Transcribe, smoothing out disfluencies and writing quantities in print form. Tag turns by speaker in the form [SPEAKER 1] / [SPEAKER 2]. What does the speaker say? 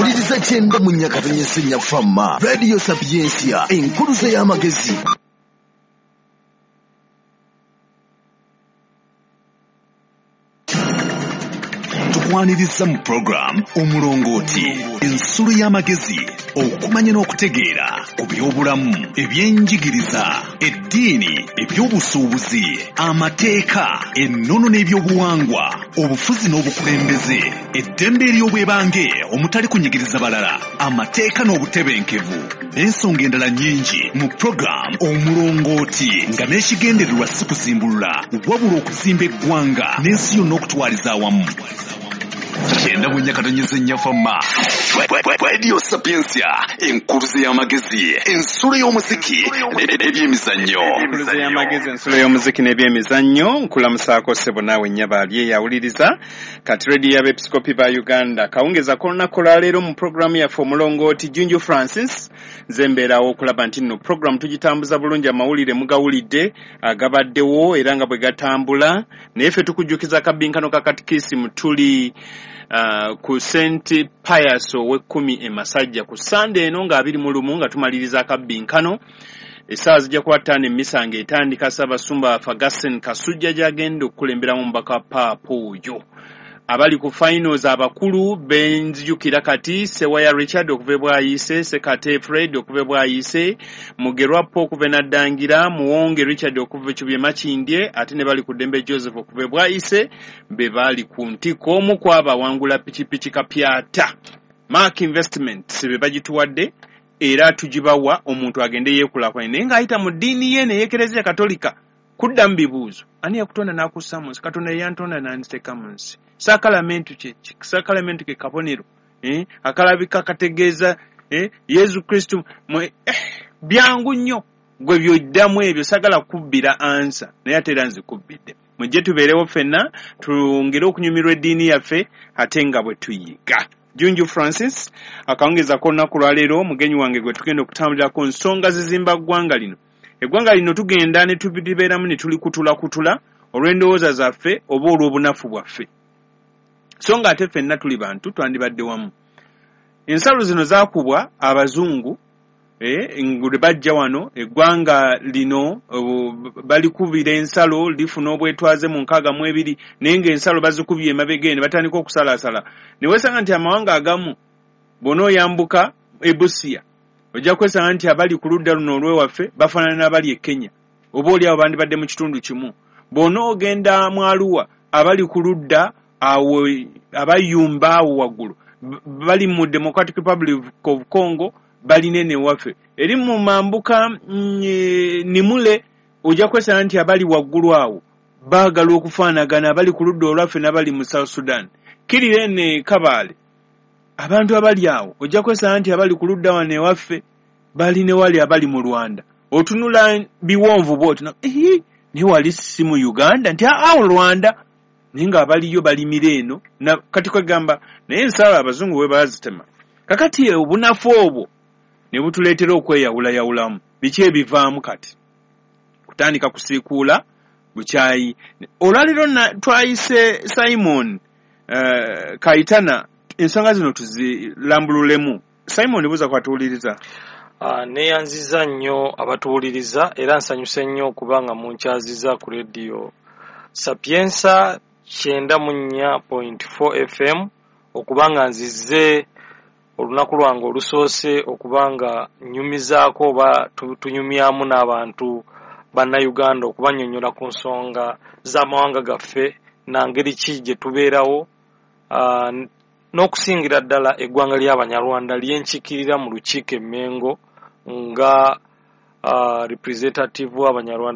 [SPEAKER 1] Wuliriza 94.4 Fama Radio Sapientia, enkuluze y'amagezi. Tukwaniriza mu program Omulongooti, ensulo y'amagezi, okumanya n'okutegeera ku by'obulamu, ebyenjigiriza, eddiini, ebyobusuubuzi, amateeka, ennono n'ebyobuwangwa, obufuzi n'obukulembeze, eddembe ery'obwebange omutali kunyigiriza balala, amateeka n'obutebenkevu, n'ensonga endala nnyingi mu program Omulongooti, nga n'ekigendererwa si kuzimbulula wabula okuzimba eggwanga n'ensi yonna okutwaliza awamu. 94.4 Fama Radio Sapientia, enkuluze y'amagezi, ensulo y'omuziki n'ebyemizannyo.
[SPEAKER 2] Enkuluze y'amagezi, ensulo y'omuziki n'ebyemizannyo. Nkulamusaako ssebo naawe nnyaba ali eyawuliriza kati radio y'abeepiskopi ba Uganda. Kawungeza k'olunaku olwaleero mu pulogulaamu yaffe Omulongooti, Junju Francis nze mbeerawo okulaba nti nno pulogulaamu tugitambuza bulungi, amawulire mugawulidde agabaddewo era nga bwe gatambula. Naye ffe tukujjukiza akabbinkano ka katikisimu, tuli ku St Pius ow'ekkumi e Masajja ku Sande eno nga 21 nga tumaliriza akabbinkano. Essaawa zijja kuba 5 emmisa ng'etandika. Ssaabasumba Ferguson Kasujja gy'agenda okukulemberamu omubaka wa Paapa oyo. Abali ku finals abakulu benzijukira kati Sewaya Richard okuva e Bwayiise, Sekate Fred okuva e Bwayiise, Mugerwa Paul okuva e Naddangira, Muwonge Richard okuva e Kibye Makindye, ate ne bali ku Ddembe Joseph okuva e Bwayiise be baali ku ntikko. Omu ku abo awangula pikipiki kapyata Mark Investments be bagituwadde era tugibawa omuntu agende yeekulaakulanye, naye ng'ayita mu ddiini ye n'eyekereziya Katolika kuddamu bibuuzo. Ani yakutonda n'akussa mu nsi? Katonda ye yantonda n'anziteeka mu nsi. Saakalamentu kye ki? Saakalamentu ke kabonero akalabika kategeeza Yesu Kristo. Byangu nnyo gwe byoddamu ebyo, saagala kubbira ansa naye ate era nzikubbidde. Mujje tubeerewo ffenna twongere okunyumirwa eddiini yaffe ate nga bwe tuyiga. Junju Francis akawungeza k'olunaku lwaleero mugenyi wange gwe tugenda okutambulirako nsonga zizimba ggwanga lino. Eggwanga lino tugenda ne tulibeeramu ne tulikutulakutula olw'endowooza zaffe oba olw'obunafu bwaffe, so nga ate ffenna tuli bantu twandibadde wamu. Ensalo zino zaakubwa abazungu lwe bajja wano. Eggwanga lino balikubira ensalo lifuna obwetwaze mu 62, naye ng'ensalo bazikubye emabega ne batandika okusalaasala. Ne weesanga nti amawanga agamu bw'onooyambuka e Busia ojja kwesanga nti abali ku ludda luno olw'ewaffe bafaanana n'abali e Kenya, oba oli awo bandibadde mu kitundu kimu. Bw'onoogenda mu Arua, abali ku ludda awo abayumba awo waggulu bali mu Democratic Republic of Congo, balina eno ewaffe. Eri mu mambuka Nimule ojja kwesanga nti abali waggulu awo baagala okufaanagana abali ku ludda olwaffe n'abali mu South Sudan. Kirira eno e Kabaale, abantu abali awo ojja kwesanga nti abali ku ludda wano ewaffe bali ne wali abali mu Rwanda. Otunula biwonvu bw'oti naye wali si mu Uganda nti awo Rwanda, naye ng'abaliyo balimira eno. Kati kwegamba naye ensalo abazungu bwe baazitema. Kakati obunafu obwo ne butuleetera okweyawulayawulamu. Biki ebivaamu kati? Kutandika kusiikuula bukyayi. Olwaleero twayise Simon Kaitana, ensonga zino tuzilambululemu. Simon, buuza kwatuwuliriza.
[SPEAKER 3] Neeyanziza nnyo abatuwuliriza era nsanyuse nnyo okuba nga munkyaziza ku Radio Sapientia 94.4 FM, okuba nga nzize olunaku lwange olusoose okuba nga nnyumizaako oba tunyumyamu n'abantu bannayuganda okubannyonnyola ku nsonga z'amawanga gaffe na ngeri ki gye tubeerawo, n'okusingira ddala eggwanga ly'Abanyarwanda lyenkiikirira mu lukiiko e Mmengo nga representative w'Abanyarwanda.